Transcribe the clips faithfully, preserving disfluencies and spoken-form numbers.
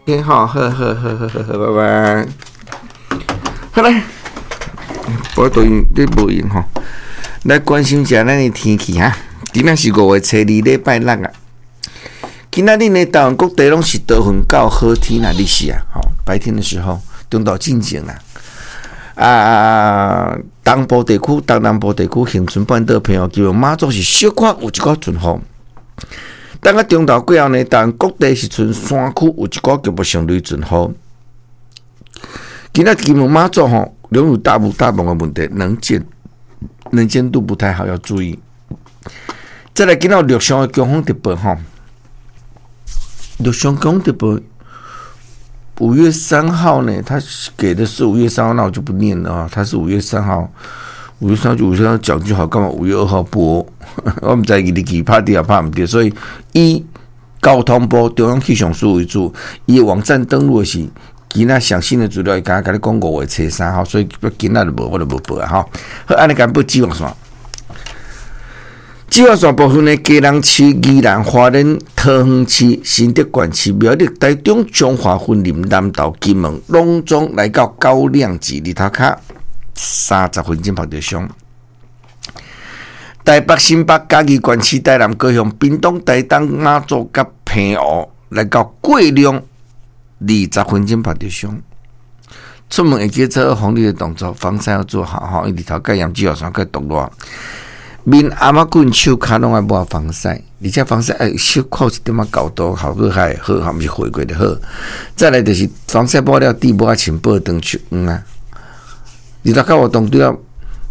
OK，好，好好好好好好，拜拜。好來，無對你無用吼，來關心一下咱的天氣哈。今仔是五月初二，禮拜六啊。今仔日呢，台灣各地攏是多雲到好天啦，日時啊，吼，白天的時候，中晝進前啦。啊，東部地區、東南部地區、恆春半島、澎湖、金門、馬祖是小可有一寡陣雨。等到中晝過後呢，台灣各地是賰山區有一寡局部性雷陣雨。今仔金門馬祖吼，擁有大霧大霧的問題，能見能見度不太好，要注意。再來，今仔有陸上的強風特報吼，陸上強風特報，五月三號呢，他給的是五月三號，那我就不念了啊。他是五月三號，五月三號就五月三號講就好，幹嘛五月二號播？我毋知伊日期拍對抑拍毋對，所以以交通部中央氣象署為主，伊網站登錄的是今仔上新的資料，伊敢若共你講五月初三號，所以今仔就無，我就無報啊吼。好，按呢共報紫外線。紫外線部分呢，基隆市、宜蘭花蓮、桃園市、新竹縣市、苗栗、台中、彰化、雲林、南投、金門，攏總來到高亮級，日頭跤三十分鐘曝著傷。台北、新北、嘉義縣市、台南、高雄、屏東、台東、馬祖佮澎湖來到過量二十分鐘曝著傷。出門會記做防曬的動作，防曬要做好吼，因為日頭蓋炎紫外線蓋毒熱。面、頷仔骨、手跤攏愛抹防曬，而且防曬愛小可一點仔厚度，效果較會好，毋是回過就好。再來就是防曬抹了，滴抹仔穿報當手黃啊。日頭較活動對了，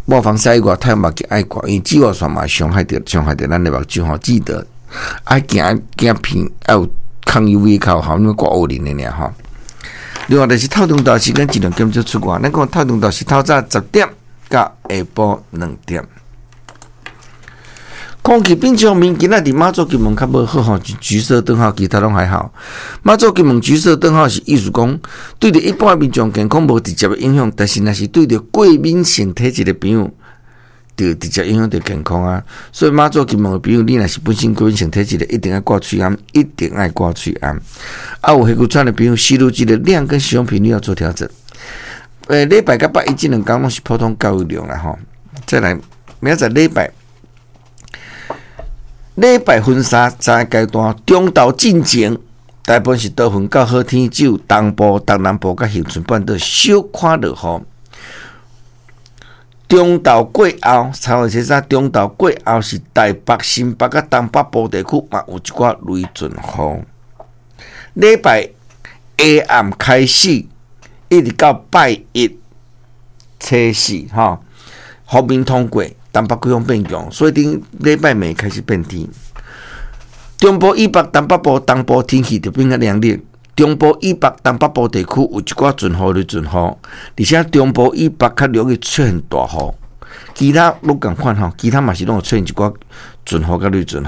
抹防曬以外，太陽目鏡愛掛，因為紫外線嘛傷害著傷害著咱的目睭吼。記得愛行鏡片愛有抗 U V 較好，你掛烏林的爾吼。另外就是透中晝時間盡量減少出外，咱講透中晝是透早十點到下晡兩點。空氣品質方面，今仔佇馬祖金門較無好吼，橘色燈號，其他攏還好。馬祖金門橘色燈號是意思講，對著一般民眾健康無直接的影響，但是若是對著過敏性體質的朋友，就直接影響著健康啊。所以馬祖金門的朋友，你若是本身過敏性體質的，一定愛掛喙罨，一定愛掛喙罨。啊，有氣喘的朋友，吸入劑的量跟使用頻率要做調整。欸，禮拜佮拜一這兩工攏是普通降雨量啦吼。再來，明仔載禮拜。禮拜分三三個階段，中晝進前，大部分是多雲到好天，只有東部、東南部佮恆春半島小可落雨。中晝過後，三月初三中晝過後是台北、新北佮東北部地區嘛有一寡雷陣雨。禮拜下暗開始，一直到拜一初四，吼，鋒面通過。東北季風變強，所以頂禮拜暝開始變天。中部以北、東北部、東部天氣就變較涼熱。中部以北、東北部地區有一寡陣雨、雷陣雨，而且中部以北較容易出現大雨。其他攏仝款吼，其他嘛是攏有出現一寡陣雨佮雷陣雨。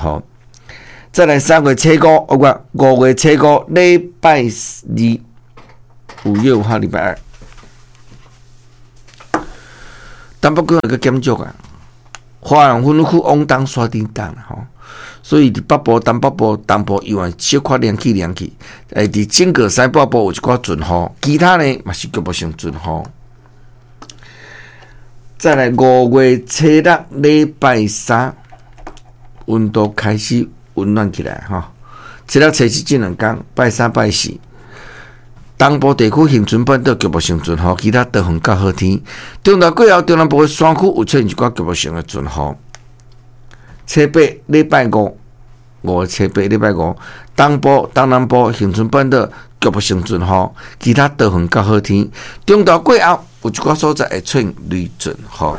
再來三月初五，哦不，五月初五，禮拜二，五月五號禮拜二，東北季風閣減弱啊。花蓮分區往東徙頂東吼，所以佇北部、東北部、東部猶原小可涼氣涼氣，欸，佇整個西北部有一寡陣雨，其他呢嘛是局部性陣雨。再來五月初六禮拜三，溫度開始溫暖起來吼。初六、初七這兩工，拜三、拜四，東部地區恆春半島局部性陣雨，其他多雲到好天。中晝過後，中南部的山區有出現一寡局部性的陣雨。初八禮拜五，五月初八禮拜五，東部、東南部恆春半島局部性陣雨，其他多雲到好天。中晝過後，有一寡所在會出現雷陣雨。